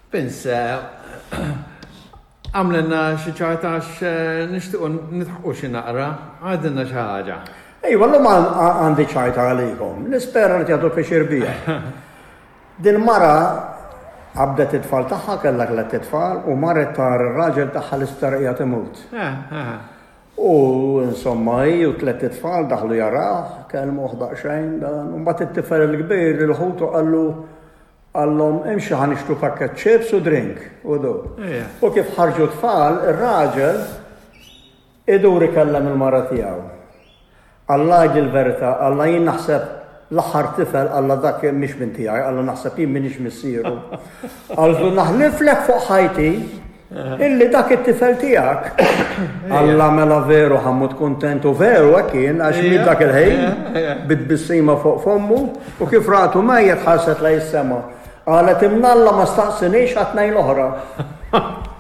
Vince, għamlilna xi ċajta għax nixtiequ nidħqu xi naqra, għidilna xi ħaġa. Ejwa, llum għandi ċajta għalikom. Nispera li tieħdu pjaċir biha. Din mara qabdet it-tfal tagħha, kellha tlett itfal, u marret tara r-raġel tagħha l-isptar qiegħed imut. U insomma hi u tlett itfal daħlu jarawh, kellmuh daqsxejn dan, u mbagħad it-tifel il-kbir lil ħutu qallu Qallhom, Imxu ħa nixtru pakkett chips u drink, u du. U kif ħarġu t-tfal, ir-raġel idur ikellem il-mara tiegħu. Qallha għidli l-verità, qallha jien naħseb l-aħħar tifel, qallha dak mhix minn tiegħi, qallha naħseb jien m'iniex missieru. Qaltlu naħliflek fuq ħajti Illi dak it-tifel tiegħek. Alla mela veru ħa mmut kuntent u veru hekk kien għax miet dak il-ħin bit-tbissima fuq fommu u kif ratu mejjet ħarset lejn is-sema. Qalet imnalla ma staqsinix għat-tnejn l-oħra.